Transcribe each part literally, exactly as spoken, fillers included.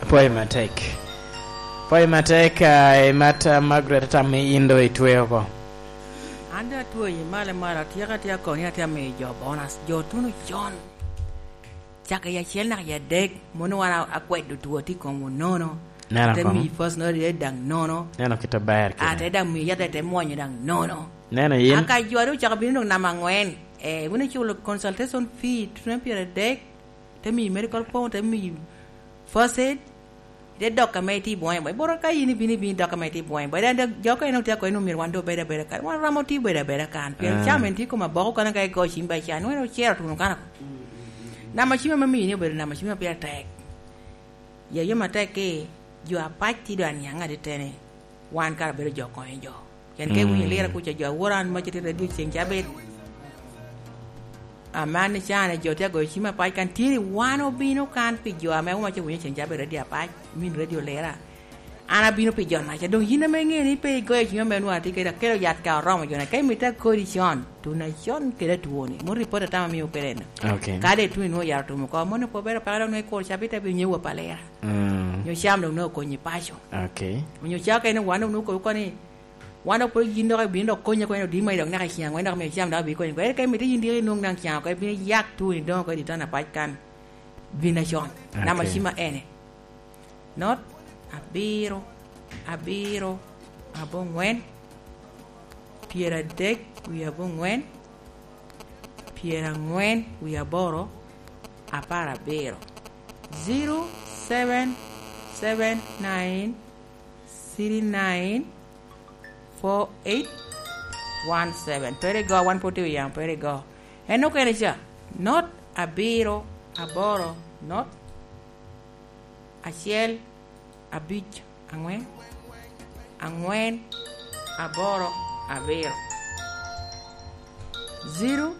Apwoyo matek. Apwoyo matek, ah, i mat, ah, Margaret, atamo ni in doŋ itweo oko. An doŋ atweo i malo malo, atyeko atya kono ni atye amiyo jo bonus, jo tuno con. Caka i acel naka i adek, mono wan a-, akwedo two tye i komwu nono. Neno Ate kono. Miyi first note daŋ nono. Neno kit aber kene. Ate daŋ miyi yat ate mwonyo daŋ nono. Neno yin. Aka jo a doŋ ocako bino doŋ namba angwen, eh, wun iculo consultation fee, tuno pyeradek, te miyi medical form, te miyi first aid, ite dok ame itye i bwoŋe bo. Iboro ka in ibino, ibino idok ame itye i bwoŋe bo. Ite dok, jo ka en otye ako en omyero wan doŋ obed abeda kan. Wan romo tye bedo abeda kan. Pien Ah. Cam en tye i kom aboko kan ka igo cim ba ican. Nweno ocero tuno kan ako. Namba cim ame miyi ni obedo namba cim ma pire tek. Ya yom atek ki, jo apac tye doŋ aniaŋ ateteni. Wan kara bedo jo konyo jo. Pien ka iwinyo Mm. lira kuca jo awora an mac tye radio ceng cabit. Aman ni can jo tye agoyo cim apac kan tye ni wan obino kan pi jo ame wun mac owinyo ceng cabit radio apac, min radio lira. An abino pi jo naca. Doŋ yin ame iŋeo ni pe igoyo cim ame nwa tye kede akelo yat ka oromo jo na. Ka imito akodi con, tuna con kede atwoni. Mo ripot atama miyo kede en. Ok. Kadi ituni nwo yaro tumo ko, mono pe obero paka doŋ nwo ikuro cabit abiro nyewa pa lira. Mm. Nyo cam doŋ nwo okonyi paco. Ok. Onyo caka en wan doŋ nwo kobo koni, wan dok pwod yin dok ibino dok konye koni odima i dok naka i ceng angwen dok miyo cam dok abino konyi. Ere ka imito yin diki inwoŋ daŋ ceng oko, ibino yak tuoni doŋ oko i ditana pac kan. Bin acon. Ok. Namba cima ene. Not abiro, abiro, abongwen, pyeradek wie abongwen, pyerangwen wie aboro, apar abiro. Zero seven seven nine three nine four eight one seven. Pere go, wan pwod tye i yamo, pere go. En okene ca, not abiro, aboro, not acel, abic, angwen, angwen, aboro, abiro. Zero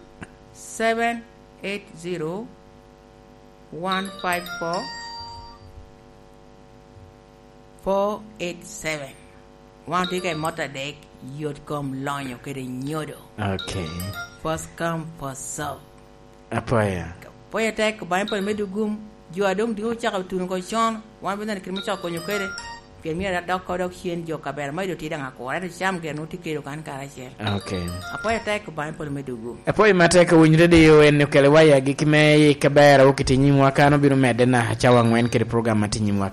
seven eight zero one five four four eight seven. Wan otye ka i mot adek, yot kom lonyo kede nyodo. Ok. First come, first serve. Apwoyo. Apwoyo tek, Obaŋa pwod medo gum. Jo a doŋ diko ocako tuno oko con, wan pe neno kit me coko konyo kede. Pien myero adok ko dok cen jo kabera ma ido tye daŋ akura, ento cam gire nwoŋo tye kelo kan karacel. Ok. Apwoyo tek, Obaŋa pwod medo gum. Apwoyo matek, owiny radio en okelo waya gik me i kabera wo kiti nyimwa kan obino medde na cawa angwen kede program ma tye nyimwa.